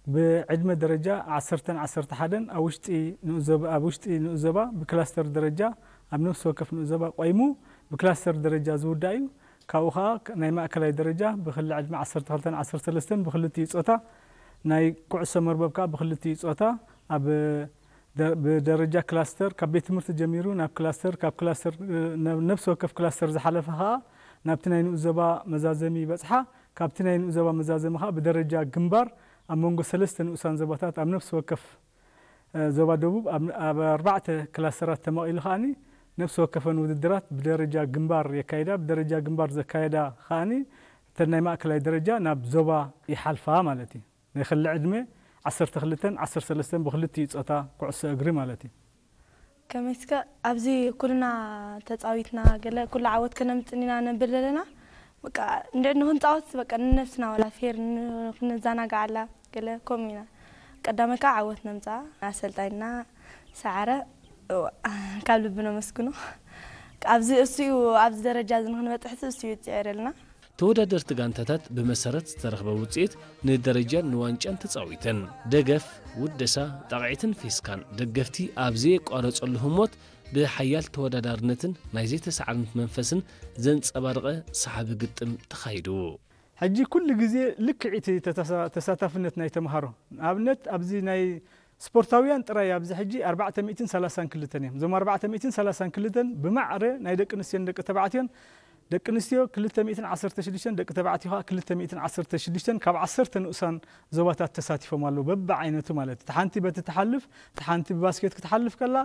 ብዕድመ ደረጃ ዓሰርተን ዓሰርተ ሓደን ኣብ ውሽጢ ንኡስ ዞባ፣ ኣብ ውሽጢ ንኡስ ዞባ ብክላስተር ደረጃ ኣብ ነፍሲ ወከፍ ንኡስ ዞባ ቆይሙ ብክላስተር ደረጃ ዝውዳእ እዩ። ካብኡ ኸዓ ናይ ማእከላይ ደረጃ ብክሊ ዕድመ ዓሰርተ ክልተን ዓሰርተ ሰለስተን ብክልቲኡ ጾታ፣ ናይ ኩዕሶ መርበብ ከኣ ብክልቲኡ ጾታ ኣብ ደ-፣ ብደረጃ ክላስተር ካብ ቤት ትምህርቲ ጀሚሩ ናብ ክላስተር፣ ካብ ክላስተር፣ እ፣ ናብ ነፍሲ ወከፍ ክላስተር ዝሓለፈ ኸኣ ናብቲ ናይ ንኡስ ዞባ መዛዘሚ ይበጽሓ። ካብቲ ናይ ንኡስ ዞባ መዛዘሚ ኸኣ ብደረጃ ግንባር ኣብ መንጎ ሰለስተ ንኡሳን ዞባታት ኣብ ነፍሲ ወከፍ እ፣ ዞባ ደቡብ ኣብ፣ ኣብ ኣርባዕተ ክላስተራት ተመቒሉ ከኣኒ ነፍሲ ወከፈን ውድድራት ብደረጃ ግንባር የካይዳ። ብደረጃ ግንባር ዘካየዳ ከኣኒ እተን ናይ ማእከላይ ደረጃ ናብ ዞባ ይሓልፋ ማለት እዩ። ናይ ክሊ ዕድመ ዓሰርተ ክልተን ዓሰርተ ሰለስተን ብክልቲኡ ጾታ ኩዕሶ እግሪ ማለት እዩ። ከመይ እስከ ኣብዚ ኩልና ተጻዊትና ገለ ኩሉ ዓወት ከነምጽእ ኢና ነብል ዘለና። በቃ እንድዒ ንክንጻወት በቃ ንነብስና ዋላ ፌር ን-፣ ክንዘናጋዓላ ገለ ከምኡ ኢና። ቀዳማይ ከዓ ዓወት ነምጽኣ። ኣሰልጣኝና ሰዓረ፣ እዋ፣ ካብ ልቢ ነመስግኖ። ኣብዚ እሱ እዩ፣ ኣብዚ ደረጃ እዚ ንክንበጽሕ እሱ እዩ ዝጽዕረልና። ተወዳደርቲ ጋንታታት ብመሰረት ዝተረኽበ ውጽኢት ንደረጃን ንዋንጫን ተጻዊተን። ደገፍ፣ ውደሳ፣ ጣቕዒትን ፌስካን ደገፍቲ ኣብ ዘየቋረጸሉ ህሞት ብሓያል ተወዳዳርነትን ናይ ዘይተሳዕርነት መንፈስን ዘንጸባረቐ ሰሓቢ ግጥም ተኻይዱ። ሕጂ ኩሉ ግዜ ልክዕ እቲ ተተሳ-፣ ተሳታፍነት ናይ ተምሃሮ፣ ንኣብነት ኣብዚ ናይ ስፖርታውያን ጥራይ ኣብዚ ሕጂ ኣርባዕተ ሚእትን ሰላሳን ክልተን እዮም። እዞም ኣርባዕተ ሚእትን ሰላሳን ክልተን ብማዕረ ናይ ደቂ ኣንስትዮን ደቂ ተባዕትዮን፣ ደቂ ኣንስትዮ ክልተ ሚእትን ዓሰርተ ሽዱሽተን፣ ደቂ ተባዕትዮ ከኣ ክልተ ሚእትን ዓሰርተ ሽዱሽተን ካብ ዓሰርተ ንኡሳን ዞባታት ተሳቲፎም ኣለዉ፣ በብዓይነቱ ማለት እዩ። እቲ ሓንቲ በቲ ትሓልፍ፣ እቲ ሓንቲ ብባስኬት ክትሓልፍ ከላ፣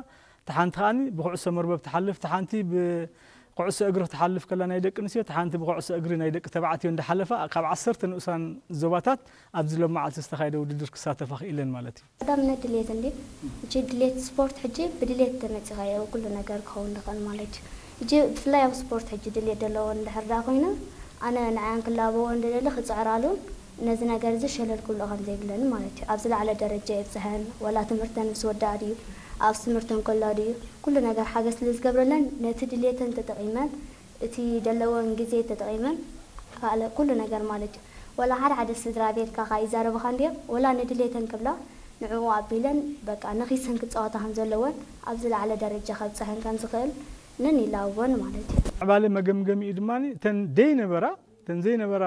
እቲ ሓንቲ ከኣኒ ብኩዕሶ መርበብ ትሓልፍ፣ እቲ ሓንቲ ብኩዕሶ እግሪ ክትሓልፍ ከላ ናይ ደቂ ኣንስትዮ፣ እቲ ሓንቲ ብኩዕሶ እግሪ ናይ ደቂ ተባዕትዮ እንዳሓለፋ ካብ ዓሰርተ ንኡሳን ዞባታት ኣብዚ ሎም መዓልቲ ዝተኻየደ ውድድር ክሳተፋ ክኢለን ማለት እዩ። ቀዳምነት ድሌት እንዲ፣ ሕጂ ድሌት ስፖርት ሕጂ ብድሌት ተመጺኻዮ ኩሉ ነገር ክኸውን ዝኽእል ማለት እዩ። ሕጂ ብፍላይ ኣብ ስፖርት ሕጂ ድሌት ዘለዎን እንድሕር ደኣ ኮይነን፣ ኣነ ንዓን ክላበወን ዝደሊ ክጽዕራሉን ነዚ ነገር እዚ ሸለል ክብሎ ከም ዘይብለኒ ማለት እዩ። ኣብ ዝለዓለ ደረጃ የብጽሐን፣ ወላ ትምህርተን ምስ ወድኣ ድዩ፣ ኣብ ትምህርተን ከላ ድዩ፣ ኩሉ ነገር ሓገዝ ስለ ዝገብረለን ነቲ ድሌተን ተጠቒመን፣ እቲ ዘለወን ግዜ ተጠቒመን፣ ካልእ ኩሉ ነገር ማለት እዩ። ወላ ሓደ ሓደ ስድራ ቤትካ ከኣ ይዛረብኻ እንድዮም፣ ወላ ንድሌተን ክብላ ንዕኡ ኣቢለን በቃ ነኺሰን ክጻወታ ከም ዘለወን፣ ኣብ ዝለዓለ ደረጃ ከብጽሐን ከም ዝኽእል ነን ይላበወን ማለት እዩ። ምዕባለ መገምገሚኡ ድማ እተን ደይነበራ፣ እተን ዘይነበራ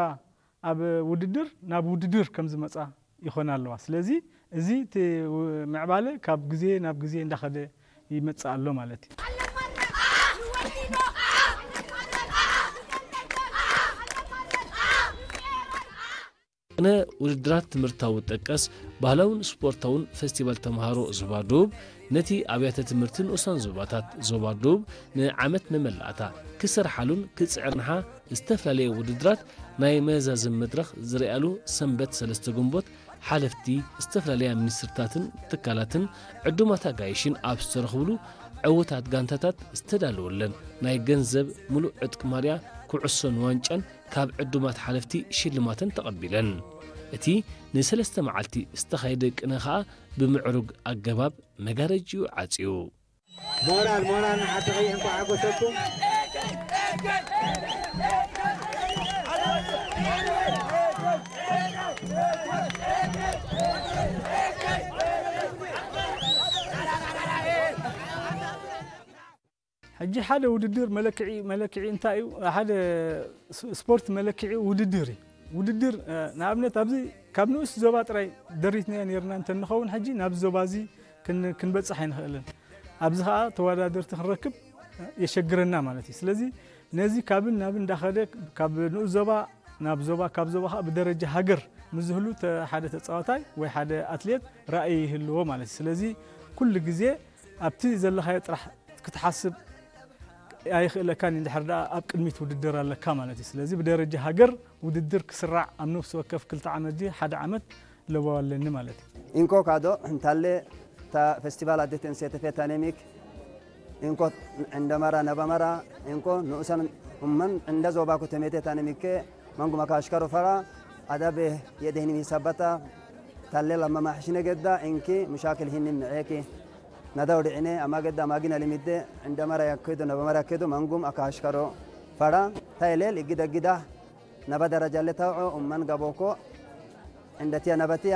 ኣብ ውድድር ናብ ውድድር ከም ዝመጻ ይኾና ኣለዋ። ስለዚ እዚ እቲ ው-፣ ምዕባለ ካብ ግዜ ናብ ግዜ እንዳኸደ ይመጽእ ኣሎ ማለት እዩ። ቅነ ውድድራት ትምህርታዊ ጠቀስ ባህላውን ስፖርታውን ፈስቲቫል ተምሃሮ ዞባ ደቡብ ነቲ ኣብያተ ትምህርቲ ንኡሳን ዞባታት ዞባ ደቡብ ንዓመት መመላእታ ክሰርሓሉን ክጽዕርንሓ ዝተፈላለየ ውድድራት ናይ መዛዘሚ መድረኽ ዝርኣሉ ሰንበት ሰለስተ ግንቦት ሓለፍቲ ዝተፈላለያ ሚኒስትርታትን ትካላትን ዕዱማት ኣጋይሽን ኣብ ዝተረኽብሉ ዕዉታት ጋንታታት ዝተዳለወለን ናይ ገንዘብ ምሉእ ዕጥቂ ማልያ ኩዕሶን ዋንጫን ካብ ዕዱማት ሓለፍቲ ሽልማተን ተቐቢለን። እቲ ንሰለስተ መዓልቲ ዝተኻየደ ቅነ ኸኣ ብምዕሩግ ኣገባብ መጋረጅኡ ዓጽዩ። ሞራል፣ ሞራል ንዓድኺ፣ እንኳዕ ሓጎሰኩም። ሕጂ ሓደ ውድድር መለክዒ፣ መለክዒ እንታይ እዩ? ሓደ ስ-፣ ስፖርት መለክዒ ውድድር እዩ። ውድድር፣ እ፣ ንኣብነት ኣብዚ ካብ ንኡስ ዞባ ጥራይ ደሪትናዮ ነይርና እንተንኸውን፣ ሕጂ ናብዚ ዞባ እዚ ክን-፣ ክንበጽሕ ኣይንኽእልን። ኣብዚ ኸኣ ተወዳደርቲ ክንረክብ የሸግረና ማለት እዩ። ስለዚ ነዚ ካብን ናብን እንዳኸደ ካብ ንኡስ ዞባ ናብ ዞባ፣ ካብ ዞባ ኸኣ ብደረጃ ሃገር ምስ ዝህሉ ተ-፣ ሓደ ተጻዋታይ ወይ ሓደ ኣትሌት ራእይ ይህልዎ ማለት እዩ። ስለዚ ኩሉ ግዜ ኣብቲ ዘለኻዮ ጥራሕ ክትሓስብ ኣይኽእለካን እዩ፣ እንድሕር ደኣ ኣብ ቅድሚት ውድድር ኣለካ ማለት እዩ። ስለዚ ብደረጃ ሃገር ውድድር ክስራዕ ኣብ ነፍሲ ወከፍ ክልተ ዓመት ድዩ ሓደ ዓመት ለበዋ ኣለኒ ማለት እዩ። ኢንኮ ካዶ እንታለ ታ ፌስቲቫል ኣዴት እንሴተፌ ታኔሚክ ኢንኮ ዕንደመራ ነበመራ ኢንኮ ንኡሰን እመን ዕንደ ዞባኩ ተሜቴ ታኔሚኬ መንጉ መካሽከሮ ፈራ ኣዳቤ የደህኒ ሚሰበታ ታሌ ለመማሕሽነ ገዳ ኢንኪ ሙሻክል ሂኒ ምዔኪ ነዳው ድዒኔ ኣማ ገዳ ማጊና ሊሚዴ ዕንደመራ ያከዶ ነበመራ ያከዶ መንጉም ኣካሽከሮ ፈራ ታይሌል እግዳ ግዳ ነበ ደረጃ ለታውዖ እመን ገቦኮ ዕንደትያ ነበትያ